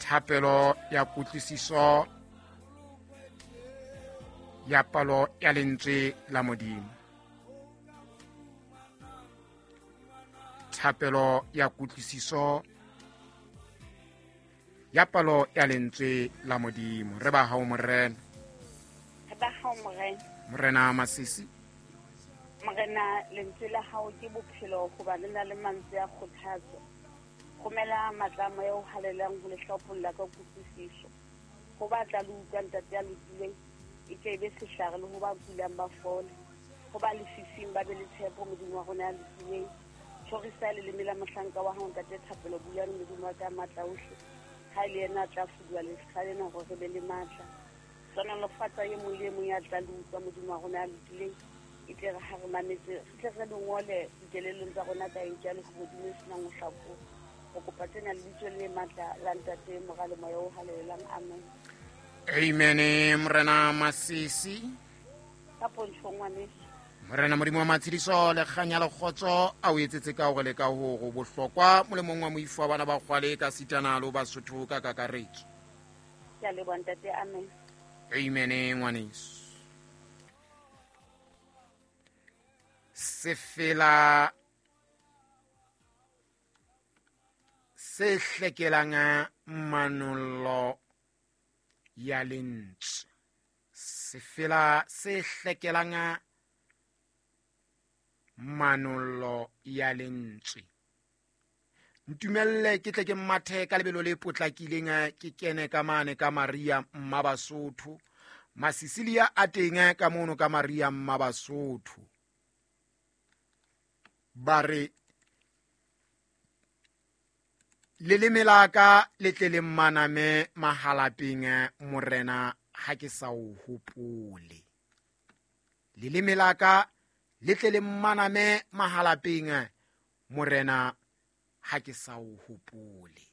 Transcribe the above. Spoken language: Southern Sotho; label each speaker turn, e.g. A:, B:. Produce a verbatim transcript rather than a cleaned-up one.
A: Thapelo ya kutlwisiso ya palo ya lentswe la Modimo. Thapelo ya kutlwisiso ya palo ya lentswe la Modimo. Re ba hao Morena.
B: Re ba hao Morena.
A: Morena Masisi.
B: Morena, lentswe la hao ke bophelo hoba le na le mantswe a kgothatso. Romela matla a moya o halalelang ho le hlopholla ka kutlwisiso. Ho ba tla le utlwa ntate ya lokileng, e tle e be sehlare le ho ba kulang ba fole. Ho ba lefifing ba be le tshepo Modimo wa rona ya lokileng. Tjhorisa leleme la mohlanka wa hao ntate Thapelo Bulane Modimo wa ka matla ohle. Ha e le yena a tla fuduwa lefitlha lena hore re be le matla. Hlohonolofatsa e mong le e mong ya tla le utlwa Modimo wa rona ya lokileng. E tle re ha re mametse, re tle re le ngole dikelellong tsa rona ka enka le hodimo e senang ho hlakoha. Re kopa tsena lebitso le matla la Ntate, Mora le Moya o Halalelang. Amen.
A: Amen. Morena Masisi.
B: Ka pontsho ngwaneso.
A: Morena Modimo wa matshediso le kganya le kgotso a o etsetse ka hore le ka hore bohlokwa molemong wa moifo wa bana ba kgwale ka sitana le Basotho ka kakaretso.
B: Ke a leboha ntate. Amen.
A: Amen ngwaneso. Sefela se hlekelang manollo ya lentswe. Sefela se hlekelang manollo ya lentswe. Ntumelle ke tle ke mathe ka lebelo le potlakileng ke kene ka mane ka Maria Mmabasotho. Masisilia a teng ka mono ka Maria Mmabasotho. Ba re leleme la ka le tle le mmaname mahalapeng Morena ha ke sa o hopole. Leleme la ka le tle le mmaname mahalapeng Morena ha ke sa o hopole.